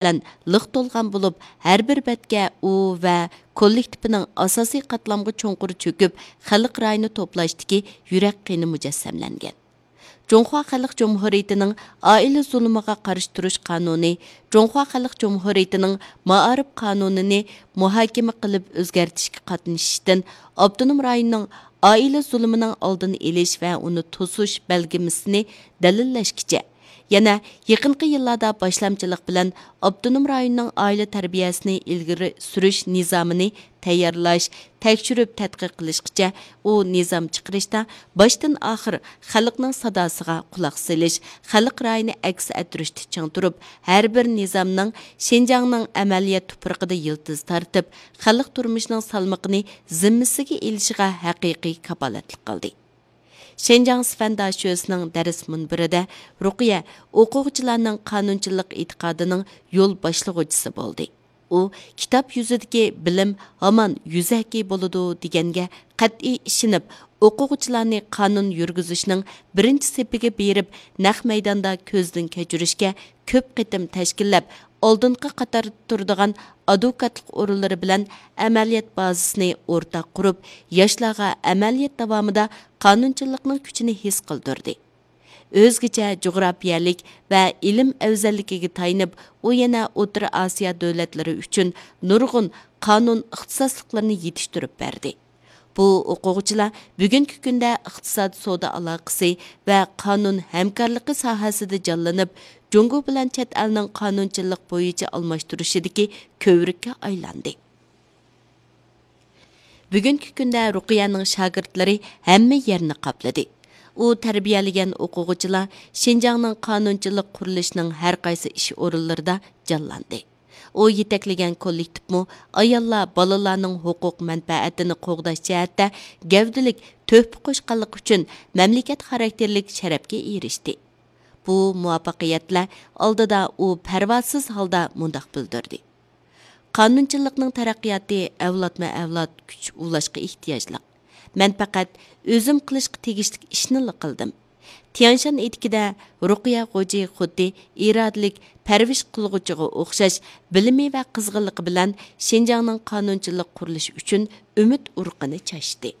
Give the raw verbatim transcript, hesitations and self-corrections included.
بىلەن لىق تولغان بولۇپ، ھەر بىر بەتكە ئۇ ۋە كوللېكتىپىنىڭ ئاساسىي قاتلامغا چوڭقۇر چۆكۈپ، خەلق رايىنى توپلاشتىكى يۈرەك قېنى مۇجەسسەملەنگەن. جۇڭخۇا خەلق جۇمھۇرىيىتىنىڭ ئائىلە زۇلۇمىغا قارشى تۇرۇش قانۇنى، جۇڭخۇا خەلق جۇمھۇرىيىتىنىڭ مائارىپ قانۇنىنى مۇھاكىمە قىلىپ ئۆزگەرتىشكە قاتنىشىشتىن ئاپتونوم رايوننىڭ ئائىلە زۇلۇمىنىڭ ئالدىنى ئېلىش ۋە ئۇنى توسۇش بەلگىلىمىسىنى دەلىللەشكىچە، يەنە يېقىنقى يىللاردا باشلامچىلىق بىلەن ئاپتونوم رايوننىڭ ئائىلە تەربىيەسىنى ئىلگىرى سۈرۈش نىزامىنى تەييارلاش، تەكشۈرۈپ تەتقىق قىلىشقىچە، ئۇ نىزام چىقىرىشتا باشتىن ئاخىر خەلقنىڭ ساداسىغا قۇلاق سېلىش، خەلق رايىنى ئەكس ئەتتۈرۈشتە چىڭ تۇرۇپ، ھەر بىر نىزامنىڭ شىنجاڭنىڭ ئەمەلىيەت تۇپرىقىدا يىلتىز تارتىپ، خەلق تۇرمۇشىنىڭ سالمىقىنى زىممىسىگە ئېلىشىغا ھەقىقىي كاپالەتلىك قىلدى. شىنجاڭ سىفەن داشۆسىنىڭ دەرس مۇنبىرىدە رۇقىيە ئوقۇغۇچىلارنىڭ قانۇنچىلىق ئېتىقادىنىڭ يول باشلىغۇچىسى بولدى. ئۇ، «كىتاب يۈزىدىكى بىلىم ھامان يۈزەكى بولىدۇ» دېگەنگە قەتئىي ئىشىنىپ، ئوقۇغۇچىلارنى قانۇن يۈرگۈزۈشنىڭ بىرىنچى سېپىگە بېرىپ، نەق مەيداندا كۆزدىن كەچۈرۈشكە كۆپ قېتىم تەشكىللەپ، ئالدىنقى قاتاردا تۇرىدىغان ئادۋوكاتلىق ئورۇنلىرى بىلەن ئەمەلىيەت بازىسىنى ئورتاق قۇرۇپ، ياشلارغا ئەمەلىيەت داۋامىدا قانۇنچىلىقنىڭ كۈچىنى ھېس قىلدۇردى. ئۆزگىچە جۇغراپىيەلىك ۋە ئىلىم ئەۋزەللىكىگە تايىنىپ، ئۇ يەنە ئوتتۇرا ئاسىيا دۆلەتلىرى ئۈچۈن نۇرغۇن قانۇن ئىختىساسلىقلىرىنى يېتىشتۈرۈپ بەردى. بۇ ئوقۇغۇچىلار بۈگۈنكى كۈندە ئىقتىساد، سودا ئالاقىسى ۋە قانۇن ھەمكارلىقى ساھەسىدە جانلىنىپ، جۇڭگو بىلەن چەت ئەلنىڭ قانۇنچىلىق بويىچە ئالماشتۇرۇشىدىكى كۆۋرۈككە ئايلاندى. بۈگۈنكى كۈندە رۇقىيەنىڭ شاگىرتلىرى ھەممە يەرنى قاپلىدى. ئۇ تەربىيەلىگەن ئوقۇغۇچىلار شىنجاڭنىڭ قانۇنچىلىق قۇرۇلۇشىنىڭ ھەر قايسى ئىش ئورۇنلىرىدا جانلاندى. ئۇ يېتەكلىگەن كوللېكتىپمۇ ئاياللار، بالىلارنىڭ ھوقۇق مەنپەئەتىنى قوغداش جەھەتتە گەۋدىلىك تۆھپە قوشقانلىقى ئۈچۈن مەملىكەت خاراكتېرلىك شەرەپكە ئېرىشتى. بۇ مۇۋەپپەقىيەتلەر ئالدىدا ئۇ پەرۋاسىز ھالدا مۇنداق بىلدۈردى: «قانۇنچىلىقنىڭ تەرەققىياتى ئەۋلادمۇ ئەۋلاد كۈچ ئۇلاشقا ئېھتىياجلىق. مەن پەقەت ئۆزۈم قىلىشقا تېگىشلىك ئىشنىلا قىلدىم.» تيەنشان ئېتىكىدە رۇقىيە غوجى خۇددى ئىرادىلىك پەرۋىش قىلغۇچىغا ئوخشاش، بىلىمى ۋە قىزغىنلىقى بىلەن شىنجاڭنىڭ قانۇنچىلىق قۇرۇلۇشى ئۈچۈن ئۈمىد ئۇرۇقىنى چاچتى.